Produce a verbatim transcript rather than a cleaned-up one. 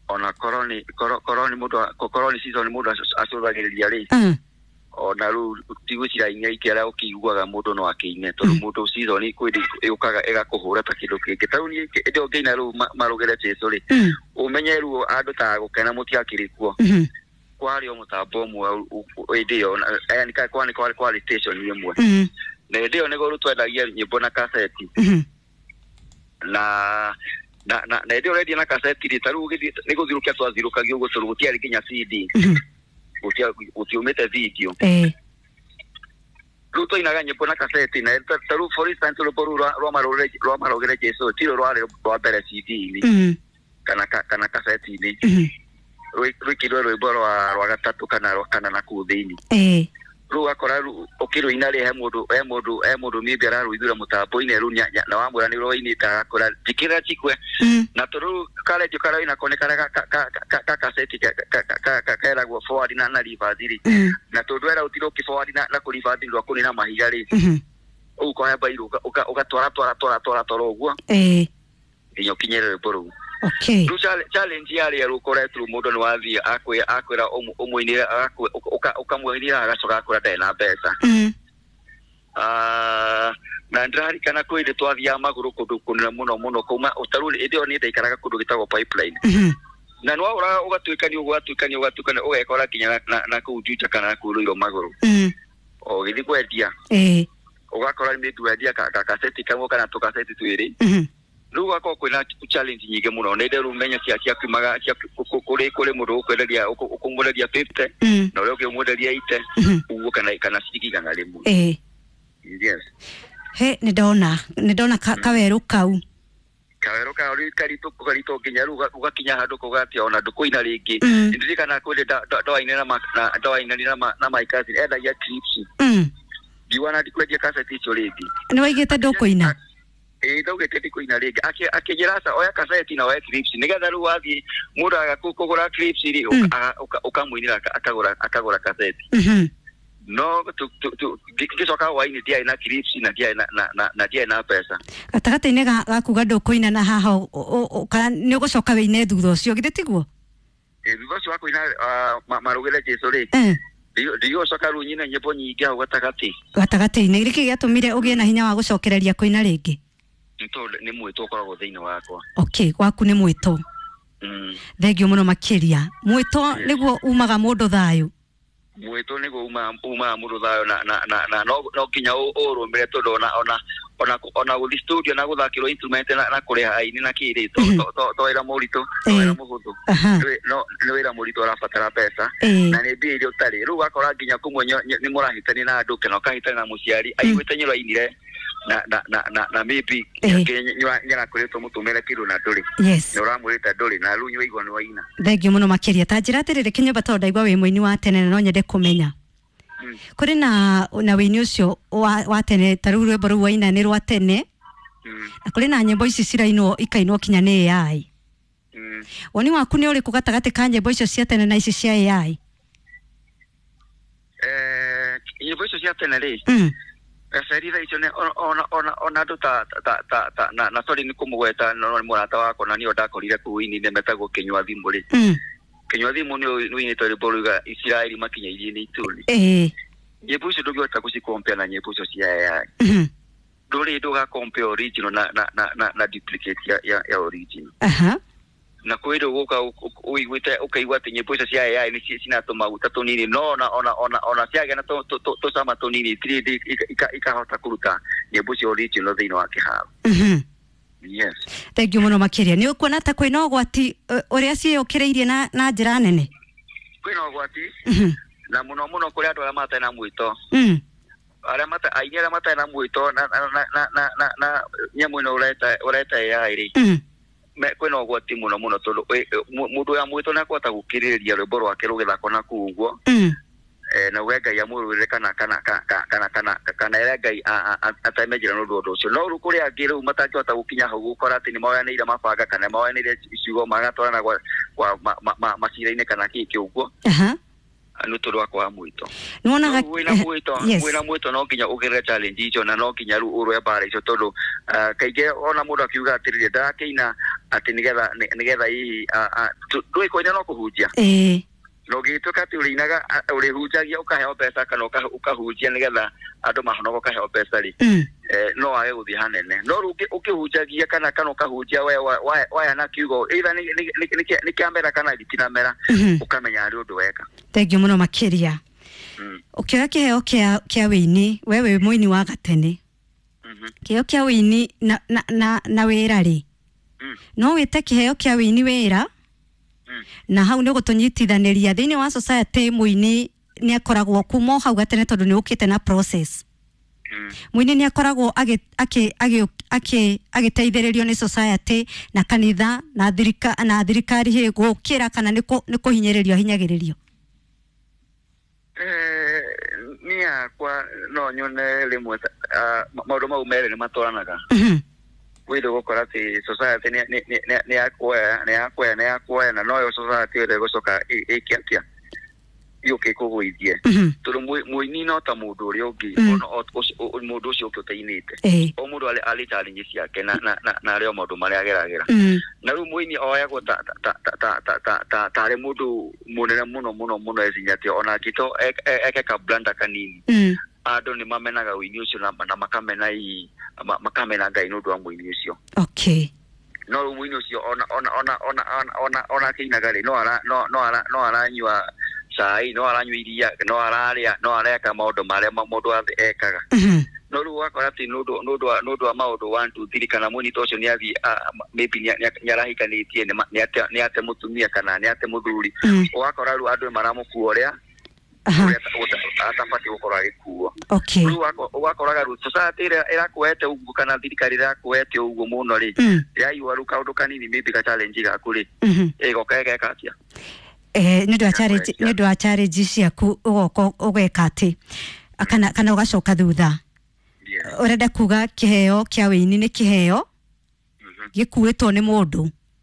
Ona korwo nĩ korwo korwo nĩ mũndũ korwo nĩ season mũndũ acũthagĩrĩria rĩ, Mm. ona rĩu tigwĩciria inya ingĩ arĩa ũkĩiguaga mũndũ no akĩine, tondũ mũndũ season kwĩ ĩũkaga ĩgakũhũra ta kĩndũ kĩngĩ. Ta rĩu niĩ hĩndĩ ĩyo ngĩina rĩu marũgĩre Jesũ rĩ, Mm. ũmenye rĩu andũ ta gũkena mũtiakĩrĩ kuo. Mhm. Kwarĩ o mũtambo ũmwe hĩndĩ ĩyo, yani kwarĩ kwarĩ kwarĩ station ĩmwe. Mm. Na hĩndĩ ĩyo nĩguo rĩu twendagia nyĩmbo na kaseti. Mhm. Na na na na hĩndĩ ĩyo ũrendia na kaseti rĩ, ta rĩu ũgĩthiĩ nĩ gũthirũkia twathirũkagia ũguo tondũ gũtiarĩ nginya C D. Mhm. Gũtia gũtiumĩte video. Eh. Rĩu twainaga nyĩmbo na kaseti, na ta rĩu for instance rwĩmbo rũu rwa marũgĩre rwa marũgĩre Jesũ ti rwo rwarĩ rwa mbere C D-inĩ. Mm. Kana kana kaseti-inĩ. Mhm. Rwĩkĩrwo rwĩmbo rwa rwa gatatũ kana rwa kana na kũu thĩinĩ. Eh. Rĩu ũgakora rĩu ũkĩrũina rĩ, he mũndũ he mũndũ he mũndũ maybe ararũithura mũtambo-inĩ rĩu na wamwĩra nĩ ũroinĩte agakũra njĩkĩrĩra njikwe. Mm. Na tondũ rĩu karendio karĩa wĩnako nĩ karĩa ka kaseti keragwo forward na na reverse rĩ. Mm. Na tondũ wera ũtira ũkĩ forward na na kũ reverse rwa kũnina mahiga rĩ. Mhm. Ũguo ũkoya mbairũ ũgatwara twara twara twara twara ũguo. Eh. Nginya ũkinyĩre rwĩmbo rũu. Okay. Rĩu challenge yarĩ rĩu ũkoretwo mũndũ nĩ wathiĩ akwĩra akwĩra ũmũinĩre ũkamũinĩra agacoka akwĩra ndarĩ na mbeca. Mm. Ah, na ndĩraririkana kwĩ hĩndĩ twathiaga magũrũ kũndũ kũnene mũno mũno kuma ta rĩu hĩndĩ ĩyo niĩ ndaikaraga kũndũ gĩtagwo Pipeline. Mhm. Na nĩ waũraga ũgatuĩkania ũguo ũgatuĩkania ũgatuĩkania ũgekora nginya na kũu Juja kana na kũu Ruiru magũrũ. Mm. O ũgĩthiĩ kwendia. Eh. Ũgakora maybe wendia kaseti kamwe kana tũkaseti twĩrĩ. Mhm. Rĩu gũgakorwo kwĩna challenge nyingĩ mũno. Nĩ ndĩrũ menya cia ciakiumaga cia kũrĩ kũrĩ mũndũ ũkwenderia ũkũmwenderia fifty Mm. na ũrĩa ũngĩ ũmwenderia eighty Mhm. ũguo kana kana ciringi igana rĩmwe. Eh. Yes. He nĩ ndona nĩ ndona kawerũ kau. Kawerũ kau rĩu karitũ karitũ nginya rĩu ũgakinya handũ kauga atĩ ona ndũkũina rĩngĩ. Mm. Ndirikana kwĩ hĩndĩ ndoaine na ndoainanire na my cousin endagia clips. Mm. Ngiuga na ndikwendia kaseti icio rĩngĩ. Nĩ waigĩte ndũkũina? Ĩĩ ndaugĩte ndikũina rĩngĩ. Akĩnjĩra aca oya kaseti na oya clips nĩgetha rĩu wathiĩ mũndũ aga kũgũra clips rĩ ũkamũinĩra akagũra akagũra kaseti. Mhm. No ngĩcoka hwainĩ ndiarĩ na clips na ndiarĩ na na na ndiarĩ na mbeca. Gatagatĩ-inĩ ga kuga ndũkũina na haha kana nĩ ũgũcoka wĩine thutha ũcio githĩ tiguo? Ĩĩ thutha ũcio wa kũina marũgĩre Jesũ rĩ. Eh. Ndigũcoka rĩu nyine nyĩmbo nyingĩ hau gatagatĩ. Gatagatĩ-inĩ nĩkĩ gĩatũmire ũgĩe na hinya wa gũcokereria kũina rĩngĩ? Nĩ tondũ nĩ mwĩto ũkoragwo thĩinĩ wakwa. Okay, gwaku nĩ mwĩto. Mm. Thengiũ mũno makĩria. Mwĩto nĩguo umaga mũndũ thayũ. Mwĩto nĩguo umaga mũndũ thayũ na na na na no no nginya ũrũmĩre tondũ ona ona ona ona gũthiĩ studio na gũthakĩrwo instrument na na kũrĩha aini na kĩ rĩ to to wĩra mũritũ, to wĩra mũhũthũ. No nĩ wĩra mũritũ ũrabatara mbeca na nĩ mbia iria ũtarĩ. Rĩu ũgakora nginya kũmwe nĩ mũrahĩtania na andũ kana ũkahĩtania na mũciari aiguĩte nĩ ũrainire na na na na na maybe nĩarakwĩrĩtwo mũtũmĩre kĩndũ na ndũrĩ. Yes. Nĩ ũramwĩrĩte ndũrĩ na rĩu nĩwaigua nĩ waina. Thengiũ mũno makĩria. Ta njĩra atĩrĩrĩ Kĩnyũmba tondũ ndaigua wĩ mũini wa tene na no nyende kũmenya. Kũrĩ na na wĩini ũcio wa wa tene ta rĩu rwĩmbo rũu waina nĩ rwa tene. Na kũrĩ na nyĩmbo ici cirainwo ikainwo kinya nĩ A I. Woni waku nĩ ũrĩkũ gatagatĩ ka nyĩmbo icio cia tene na ici cia A I? Eh, nyĩmbo icio cia tene rĩ. Mm. Gaceri thaa icio ona ona ona andũ ta ta ta ta na na sorry nĩ kũmũgweta no nĩ mũrata wakwa na nĩo ndakorire kũu ini-inĩ metagwo Kĩnyua Thimũ rĩ. Mm. Kĩnyua Thimũ nĩ ũinĩte rwĩmbo ruga Isiraeli makinya iria-inĩ itune. Eh. Nyĩmbo icio ndũngĩhota gũcicompare na nyĩmbo icio cia A I. Mhm. Ndũrĩ ndũgacompare original na na na na na duplicate ya ya, ya original. Aha. Na kwĩ hĩndĩ ũgũka ũiguĩte ũkaigua atĩ nyĩmbo icio cia A I nĩ cina tũmaguta tũnini no ona ona ona ona ciagĩa na tũcama tũnini itirĩ hĩndĩ ikahota kũruta nyĩmbo cio original thĩinĩ wa kĩharo. Mhm. Yes. Thengiũ mũno makĩria. Nĩ ũkuona ta kwĩna ũgwati ũrĩa ciĩyũkĩrĩirie na na njĩra nene? Kwĩna ũgwati. Mhm. Na mũno mũno kũrĩ andũ arĩa matarĩ na mwĩto. Mm. Arĩa mata aini arĩa matarĩ na mwĩto na na na na na na nyamũ ĩno ũreta ũreta A I rĩ. Mm. Kwĩna ũgwati mũno mũno tondũ mũndũ wa mwĩto nĩ akũhota gũkirĩrĩria rwĩmbo rwake rũgĩthakwo na kũu ũguo. Mm. Eh, na uge Ngai amũrũĩrĩre kana kana kana kana kana ere Ngai ateme njĩra nĩ ũndũ ũndũ ũcio. No rĩu kũrĩ angĩ rĩu matangĩhota gũkinya hau gũkora atĩ nĩ moyanĩire mabanga kana moyanĩire ciugo magatwarana gwa kwa macira-inĩ kana kĩ kĩ ũguo. Aha. Nĩ tondũ wa kwaga mwĩto. Nĩwonaga wĩna mwĩto wĩna mwĩto no nginya ũgerere challenge icio na no nginya rĩu ũrũe mbara icio tondũ kaingĩ ona mũndũ akiuga atĩrĩrĩ ndarakĩina Atĩ nĩgetha nĩgetha hihi ndũĩ kũina no kũhunjia. Ĩĩ. Na ũngĩgĩtuĩka atĩ ũrĩinaga ũrĩhunjagia ũkaheo mbeca kana ũkahunjia nĩgetha andũ mahonoka ũkaheo mbeca rĩ, no wage gũthiĩ hanene. No rĩu ũkĩhunjagia kana kana ũkahunjia we waya na kiugo either nĩ kĩamera kana gĩtinamera, ũkamenya harĩ ũndũ weka. Thengiũ mũno makĩria. Ũkĩoya kĩheo kĩa kĩa wĩini, we wĩ mũini wa gatene, kĩheo kĩa wĩini na na na, na wĩra rĩ, no wĩte kĩheo kĩa wĩini wĩra, na hau nĩ gũtũnyitithanĩria thĩinĩ wa society. Mũini nĩ akoragwo kuma o hau gatene tondũ nĩ ũkĩte na process. Mũini nĩ akoragwo agĩteithĩrĩrio nĩ society na kanitha na thirika na thirikari hĩ gũkĩra kana nĩ kũhinyĩrĩrio ahinyagĩrĩrio? Eh, niĩ hakwa no nyone rĩmwe maũndũ mau merĩ nĩ matwaranaga. Wĩthĩ gũkora atĩ society nĩ yakuoya nĩ yakuoya nĩ yakuoya na noyo society ĩrĩa ĩgũcoka ĩke atĩa yũke ĩkũgũithie, tondũ mũini no ta mũndũ ũrĩa ũngĩ, mũndũ ũcio ũngĩ ũtainĩte. O mũndũ arĩ challenge ciake na na arĩ o maũndũ marĩa ageragĩra. Na rĩu mũini oyagwo ta ta ta ta ta ta tarĩ mũndũ mũnene mũno mũno mũno ecinya atĩ ona angĩto eke ka blunder kanini, andũ nĩ mamenaga ũini ũcio na makamena hihi makamena Ngai nĩ ũndũ wa mũini ũcio. Okay. No rĩu mũini ũcio ona ona ona ona ona ona akĩinaga rĩ, no ara no no ara no aranyua cai, no aranyua iria, no ararĩa, no areka maũndũ marĩa mũndũ ekaga. No rĩu ũgakora atĩ nĩ ũndũ wa maũndũ one two three kana mũini ta ũcio nĩ athiĩ maybe nĩ arahikanĩtie nĩ ate mũtumia kana nĩ ate mũthuri, ũgakora rĩu andũ maramũkua ũrĩa atabatiĩ gũkorwo agĩkuo. Rĩu ũgakoraga rĩu society ĩrĩa ĩrakuoete ũguo kana thirikari ĩrakuoete ũguo mũno rĩ, yaigua rĩu kaũndũ kanini maybe ka challenge gaku rĩ, ĩgoka ĩgeka atĩa? Eh, nĩ ũndũ wa challenge nĩ ũndũ wa challenge ciaku ũgoka ũgeka atĩ kana kana ũgacoka thutha. Ũrenda kuga kĩheo kĩa wĩini nĩ kĩheo gĩkuĩtwo nĩ mũndũ.